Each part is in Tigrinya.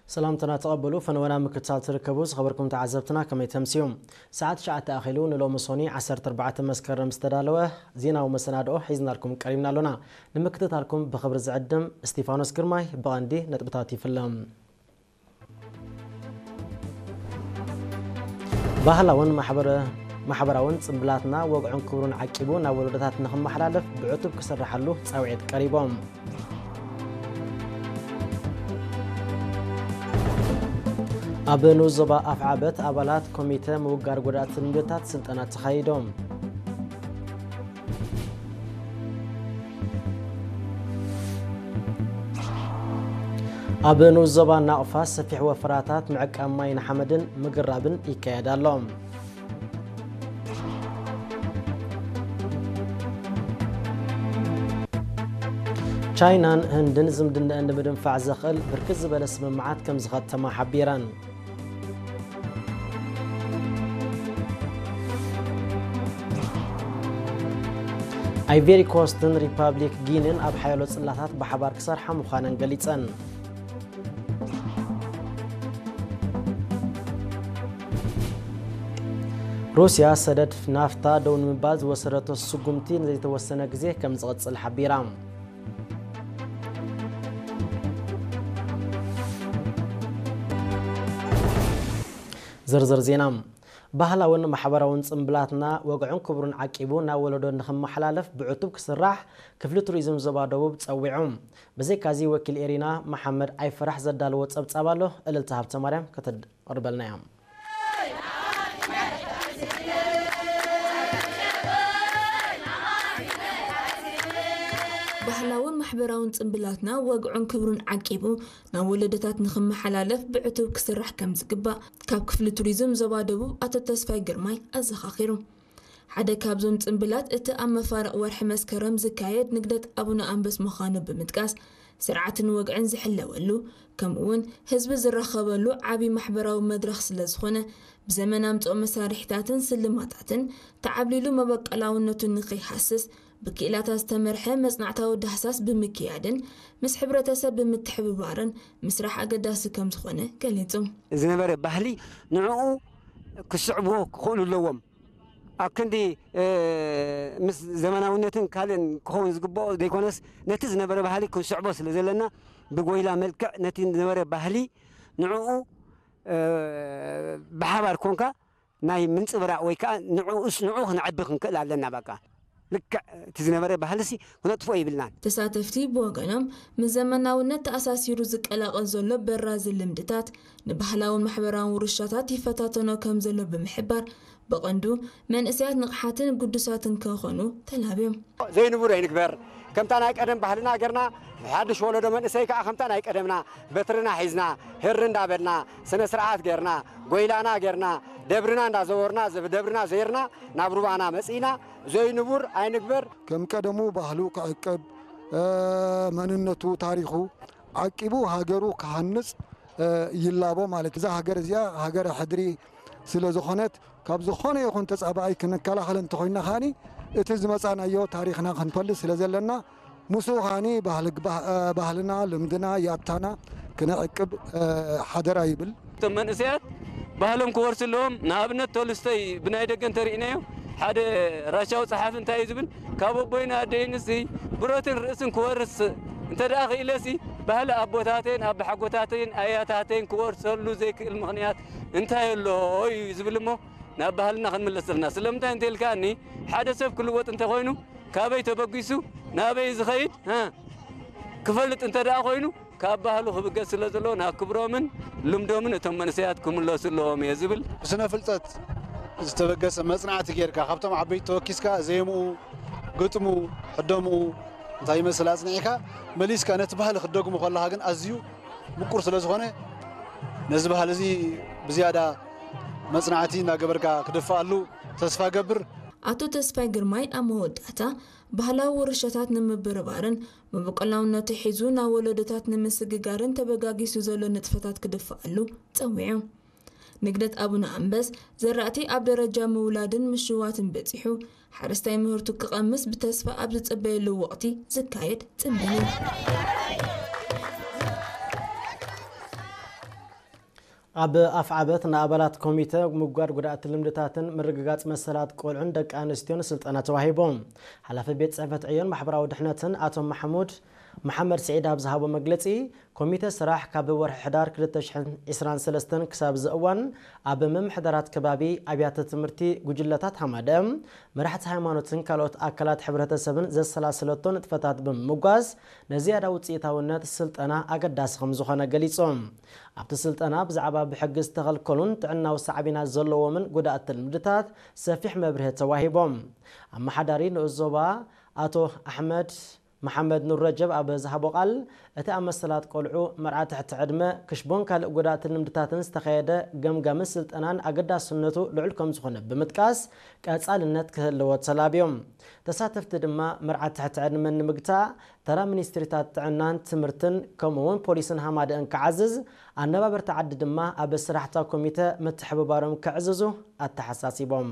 ሰላምትና ተቐበሉ። ፈነወና ምክትታል ትርከቡ ዝኸበርኩም ተዓዘብትና ከመይ ተምስዩ? ሰዓት ትሽዓተ ኣኺሉ ንሎሚ ሶኒ ዓሰርተ ኣርባዕተ መስከረም ዝተዳለወ ዜናዊ መሰናድኦ ሒዝናልኩም ቀሪብና ኣሎና። ንምክትታልኩም ብኽብሪ ዝዕድም እስቲፋኖስ ግርማይ። ብቐንዲ ነጥብታት ይፍለም። ባህላውን ማሕበረ-፣ ማሕበራውን ጽምብላትና ወግዑን ክብሩን ዓቂቡ ናብ ወለዶታት ንኽመሓላለፍ ብዕቱብ ክስርሓሉ ጻውዒት ቀሪቦም። ኣብ ንኡስ ዞባ ኣፍዓበት ኣባላት ኮሚተ ምውጋር ጎዳእቲ ልምድታት ስልጠና ተኻይዶም። ኣብ ንኡስ ዞባ ናቕፋ ሰፊሕ ወፈራታት ምዕቃብ ማይን ሓመድን ምግራብን ይካየድ ኣሎ። ቻይናን ህንድን ዝምድናኣን ንምድንፋዕ ዘኽእል ብርክት ዝበለ ስምምዓት ከም ዝኸተማ ሓቢረን። ኣይቬሪ ኮስትን ሪፓብሊክ ጊንን ኣብ ሓያሎ ጽላታት ብሓባር ክሰርሓ ምዃነን ገሊጸን። ሩስያ ሰደድ ናፍታ ደው ንምባል ዝወሰደቶ ስጉምቲ ንዘይተወሰነ ግዜ ከም ዝቕጽል ሓቢራ። ዝርዝር ዜና። ባህላውን ማሕበራውን ጽምብላትና ወግዑን ክብሩን ዓቂቡ ናብ ወለዶ ንኽመሓላለፍ ብዕቱብ ክስራሕ ክፍሊ ቱሪዝም ዞባ ደቡብ ጸዊዑ። ብዘይካዚ ወኪል ኤሪና መሓመድ ኣይፈራሕ ዘዳለዎ ጸብጻብ ኣሎ። እልልታ ሃብተማርያም ከተቕርበልና እያ። ባህላውን ማሕበራውን ጽምብላትና ወግዑን ክብሩን ዓቂቡ ናብ ወለዶታት ንኽመሓላለፍ ብዕቱብ ክስራሕ ከም ዝግባእ ካብ ክፍሊ ቱሪዝም ዞባ ደቡብ ኣቶ ተስፋይ ግርማይ ኣዘኻኺሩ። ሓደ ካብዞም ጽምብላት እቲ ኣብ መፋርቕ ወርሒ መስከረም ዝካየድ ንግደት ኣቡነ ኣንበስ ምዃኑ ብምጥቃስ፣ ስርዓትን ወግዕን ዝሕለወሉ፣ ከምኡ'ውን ህዝቢ ዝራኸበሉ ዓቢ ማሕበራዊ መድረኽ ስለ ዝኾነ፣ ብዘመን ኣምጽኦ መሳርሒታትን ስልማታትን ተዓብሊሉ መበቆላውነቱ ንኸይሃስስ ብክኢላታት ዝተመርሐ መጽናዕታዊ ዳህሳስ ብምክያድን ምስ ሕብረተሰብ ብምትሕብባርን ምስራሕ ኣገዳሲ ከም ዝኾነ ገሊጹ። ዝነበረ ባህሊ ንዕኡ ክስዕብዎ ክኽእሉ ኣለዎም። ኣብ ክንዲ፣ እ፣ ምስ ዘመናውነትን ካልእን ክኸውን ዝግብኦ ዘይኮነስ፣ ነቲ ዝነበረ ባህሊ ክንስዕቦ ስለ ዘለና፣ ብጎይላ መልክዕ ነቲ ዝነበረ ባህሊ ንዕኡ፣ እ፣ ብሓባር ኮንካ ናይ ምንጽብራቕ ወይ ከኣ ንዕኡስ ንዑ ክነዕቢ ክንክእል ኣለና። በቃ ልክዕ እቲ ዝነበረ ባህልሲ ክነጥፍኦ ይብልናን። ተሳተፍቲ ብወገኖም፣ ምስ ዘመናውነት ተኣሳሲሩ ዝቀላቐል ዘሎ በራዚ ልምድታት ንባህላውን ማሕበራውን ውርሻታት ይፈታተኖ ከም ዘሎ ብምሕባር፣ ብቐንዱ መንእሰያት ንቕሓትን ግዱሳትን ክኾኑ ተላብዮም። ዘይንቡር ኣይንግበር። ከምታ ናይ ቀደም ባህልና ጌርና፣ ሓድሽ ወለዶ መንእሰይ ከኣ ከምታ ናይ ቀደምና በትርና ሒዝና፣ ህሪ እንዳበልና፣ ስነ ስርዓት ጌርና፣ ጎይላና ጌርና፣ ደብርና እንዳዘወርና፣ ዘብ-፣ ደብርና ዘይርና፣ ናብ ሩባና መጺእና፣ ዘይንቡር ኣይንግበር። ከም ቀደሙ ባህሉ ክዕቅብ፣ እ፣ መንነቱ፣ ታሪኹ ዓቂቡ ሃገሩ ክሃንጽ፣ እ፣ ይላቦ ማለት። እዛ ሃገር እዚኣ ሃገረ ሕድሪ ስለ ዝኾነት፣ ካብ ዝኾነ ይኹን ተጻባኣይ ክንከላኸል እንተኾይንና ከኣኒ፣ እቲ ዝመጻናዮ ታሪኽና ክንፈልጥ ስለ ዘለና፣ ምስኡ ከኣኒ ባህል-፣ ባህ-፣ እ፣ ባህልና፣ ልምድና፣ ያታና ክነዕቅብ፣ እ፣ ሓደራ ይብል። እቶም መንእሰያት ባህሎም ክወርሱ ኣለዎም። ንኣብነት ቶልስቶይ ብናይ ደገ እንተርኢናዮ፣ ሓደ ራሻዊ ጸሓፊ እንታይ እዩ ዝብል? ካብ ኣቦይን ኣደይንሲ ብረትን ርእስን ክወርስ እንተ ደኣ ክኢለሲ፣ ባህሊ ኣቦታተይን ኣቦሓጎታተይን ኣያታተይን ክወርሰሉ ዘይክእል ምኽንያት እንታይ ኣሎ እዩ ዝብል እሞ፣ ናብ ባህልና ክንምለስ ዘለና። ስለምንታይ እንተ ኢልካኒ፣ ሓደ ሰብ ክልወጥ እንተኾይኑ፣ ካበይ ተበጊሱ ናበይ ዝኸይድ፣ እ፣ ክፈልጥ እንተ ደኣ ኮይኑ፣ ካብ ባህሉ ክብገስ ስለ ዘለዎ፣ ናብ ክብሮምን ልምዶምን እቶም መንእሰያት ክምለሱ ኣለዎም እየ ዝብል። ብስነ ፍልጠት ዝተበገሰ መጽናዕቲ ጌርካ፣ ካብቶም ዓበይቲ ተወኪስካ፣ ዜምኡ፣ ግጥሙ፣ ሕደምኡ እንታይ ይመስል ኣጽኒዕካ፣ መሊስካ ነቲ ባህሊ ክትደግሞ ከለኻ ግን ኣዝዩ ምቁር ስለ ዝኾነ፣ ነዚ ባህሊ እዚ ብዝያዳ መጽናዕቲ እናገበርካ ክድፍኣሉ ተስፋ ገብር። ኣቶ ተስፋይ ግርማይ ኣብ መወዳእታ፣ ባህላዊ ውርሻታት ንምብርባርን መበቆላውነቱ ሒዙ ናብ ወለዶታት ንምስግጋርን ተበጋጊሱ ዘሎ ንጥፈታት ክድፍኣሉ ጸዊዑ። ንግደት ኣቡነ ኣንበስ፣ ዘራእቲ ኣብ ደረጃ ምውላድን ምሽዋትን በጺሑ፣ ሓረስታይ ምህርቱ ክቐምስ ብተስፋ ኣብ ዝጽበየሉ ወቕቲ ዝካየድ ጽምብል እዩ። ኣብ ኣፍዓበት ንኣባላት ኮሚተ ምጉዳድ ጉድኣት ልምድታትን ምርግጋጽ መሰላት ቆልዑን ደቂ ኣንስትዮን ስልጠና ተዋሂቦም። ሓላፊ ቤት ጽሕፈት ዕዮን ማሕበራዊ ድሕነትን ኣቶ ማሕሙድ መሓመድ ስዒድ ኣብ ዝሃቦ መግለጺ፣ ኮሚተ ስራሕ ካብ ወርሒ ሕዳር ክልተ ሽሕን ዕስራን ሰለስተን ክሳብ እዚ እዋን ኣብ ምምሕዳራት ከባቢ፣ ኣብያተ ትምህርቲ፣ ጉጅለታት ሃማደ፣ መራሕቲ ሃይማኖትን ካልኦት ኣካላት ሕብረተሰብን ዘሰላሰለቶ ንጥፈታት ብምምጓስ ንዝያዳ ውፅኢታውነት ስልጠና ኣገዳሲ ከም ዝኾነ ገሊጾም። ኣብቲ ስልጠና ብዛዕባ ብሕጊ ዝተኸልከሉን ጥዕናዊ ሳዕቤናት ዘለዎምን ጉዳኣት ልምድታት ሰፊሕ መብርሂ ተዋሂቦም። ኣመሓዳሪ ንኡስ ዞባ ኣቶ ኣሕመድ መሓመድ ኑር ረጀብ ኣብ ዝሃቦ ቃል፣ እቲ ኣብ መሰላት ቆልዑ፣ መርዓ ትሕቲ ዕድመ፣ ክሽቦን ካልእ ጉዳኣትን ልምድታትን ዝተኻየደ ገምጋምን ስልጠናን ኣገዳስነቱ ልዑል ከም ዝኾነ ብምጥቃስ፣ ቀጻልነት ክህልዎ ተላብዮም። ተሳተፍቲ ድማ መርዓ ትሕቲ ዕድመ ንምግታእ ተራ ሚኒስትሪታት ጥዕናን ትምህርትን ከምኡ እውን ፖሊስን ሃማደእን ክዓዝዝ፣ ኣነባበርቲ ዓዲ ድማ ኣብ ስራሕታ ኮሚተ ምትሕብባሮም ክዕዝዙ ኣተሓሳሲቦም።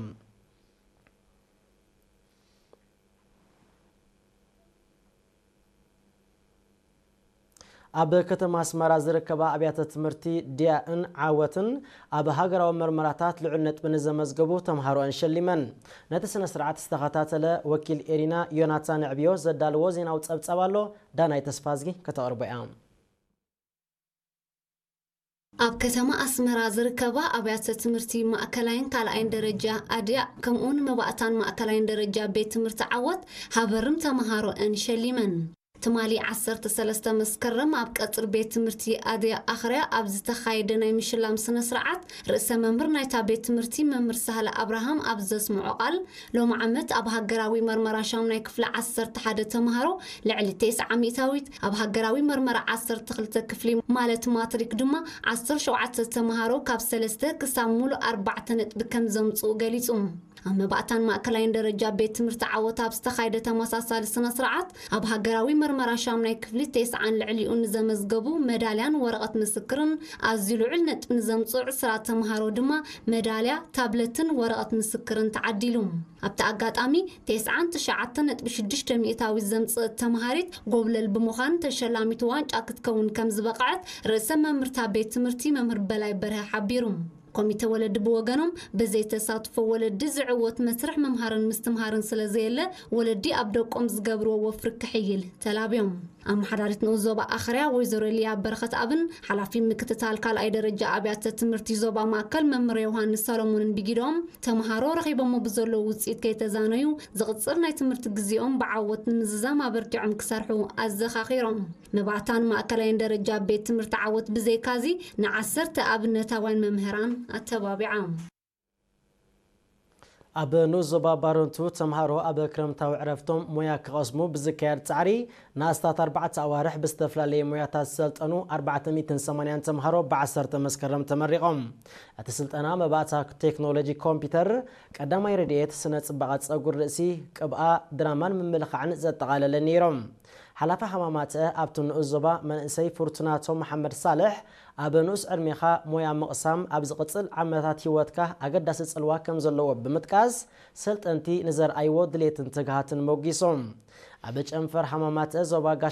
ኣብ ከተማ ኣስመራ ዝርከባ ኣብያተ ትምህርቲ ድያእን ዓወትን ኣብ ሃገራዊ መርመራታት ልዑል ነጥቢ ንዘመዝገቡ ተምሃሮኣን ሸሊመን። ነቲ ስነ ስርዓት ዝተኸታተለ ወኪል ኤሪና ዮናታን ዕብዮ ዘዳለዎ ዜናዊ ጸብጻብ ኣሎ፣ ዳናይ ተስፋዝጊ ከተቕርቦ እያ። ኣብ ከተማ ኣስመራ ዝርከባ ኣብያተ ትምህርቲ ማእከላይን ካልኣይን ደረጃ ኣድያ ከምኡውን መባእታን ማእከላይን ደረጃ ቤት ትምህርቲ ዓወት ሃበርም ተምሃሮኣን ሸሊመን። ትማሊ ዓሰርተ ሰለስተ መስከረም ኣብ ቀጽሪ ቤት ትምህርቲ ኣድያ ኣኽርያ ኣብ ዝተኻየደ ናይ ምሽላም ስነ ስርዓት ርእሰ መምህር ናይታ ቤት ትምህርቲ መምህር ሳህለ ኣብርሃም ኣብ ዘስምዖ ቃል፣ ሎሚ ዓመት ኣብ ሃገራዊ መርመራ ሻምናይ ክፍሊ ዓሰርተ ሓደ ተምሃሮ ልዕሊ ተስዓ ሚእታዊት፣ ኣብ ሃገራዊ መርመራ ዓሰርተ ክልተ ክፍሊ ማለት ማትሪክ ድማ ዓሰርተ ሸውዓተ ተምሃሮ ካብ ሰለስተ ክሳብ ሙሉእ ኣርባዕተ ነጥቢ ከም ዘምጽኡ ገሊጹ። ኣብ መባእታን ማእከላይን ደረጃ ቤት ትምህርቲ ዓወት ኣብ ዝተኻየደ ተመሳሳሊ ስነ ስርዓት፣ ኣብ ሃገራዊ መርመራ ሻምናይ ክፍሊ ተስዓን ልዕሊኡ ንዘመዝገቡ መዳልያን ወረቐት ምስክርን፣ ኣዝዩ ልዑል ነጥቢ ንዘምጽኡ ዕስራ ተምሃሮ ድማ መዳልያ፣ ታብለትን ወረቐት ምስክርን ተዓዲሉ። ኣብቲ ኣጋጣሚ፣ ተስዓን ትሽዓተ ነጥቢ ሽዱሽተ ሚእታዊት ዘምጽእት ተምሃሪት ጎብለል ብምዃን ተሸላሚት ዋንጫ ክትከውን ከም ዝበቕዐት ርእሰ መምህርታ ቤት ትምህርቲ መምህር በላይ በርሀ ሓቢሩ። ኮሚተ ወለዲ ብወገኖም፣ ብዘይ ተሳትፎ ወለዲ ዝዕወት መስርሕ ምምሃርን ምስትምሃርን ስለ ዘየለ፣ ወለዲ ኣብ ደቆም ዝገብርዎ ወፍሪ ክሕይል ተላብዮም። ኣመሓዳሪት ንኡስ ዞባ ኣኽርያ ወይዘሮ ሊያ በረኸት ኣብን ሓላፊ ምክትታል ካልኣይ ደረጃ ኣብያተ ትምህርቲ ዞባ ማእከል መምህር ዮሃንስ ሰሎሞንን ብጊዶም፣ ተምሃሮ ረኺቦሞ ብዘለዉ ውፅኢት ከይተዛነዩ፣ ዝቕፅል ናይ ትምህርቲ ግዜኦም ብዓወት ንምዝዛም ኣበርቲዖም ክሰርሑ ኣዘኻኺሮም። መባእታን ማእከላይን ደረጃ ቤት ትምህርቲ ዓወት ብዘይካዚ ንዓሰርተ ኣብነታውያን መምህራን ኣተባቢዓ። ኣብ ንኡስ ዞባ ባረንቱ ተምሃሮ ኣብ ክረምታዊ ዕረፍቶም ሞያ ክቐስሙ ብዝካየድ ጻዕሪ ንኣስታት ኣርባዕተ ኣዋርሕ ብዝተፈላለየ ሞያታት ዝሰልጠኑ ኣርባዕተ ሚእትን ሰማንያን ተምሃሮ ብዓሰርተ መስከረም ተመሪቖም። እቲ ስልጠና መባእታ ቴክኖሎጂ ኮምፒውተር፣ ቀዳማይ ረድኤት፣ ስነ ጽባቐ ጸጉሪ ርእሲ፣ ቅብኣ፣ ድራማን ምምልኻዕን ዘጠቓለለ ነይሮም። ሓላፊ ሃማማተ ኣብቲ ንኡስ ዞባ መንእሰይ ፍርቱናቶ መሓመድ ሳልሕ፣ ኣብ ንኡስ ዕድሜኻ ሞያ ምቕሳም ኣብ ዝቕጽል ዓመታት ህይወትካ ኣገዳሲ ጽልዋ ከም ዘለዎ ብምጥቃስ፣ ሰልጠንቲ ንዘርኣይዎ ድሌትን ትግሃትን ሞጊሶም። ኣብ ጨንፈር ሃማማተ ዞባ ጋሽ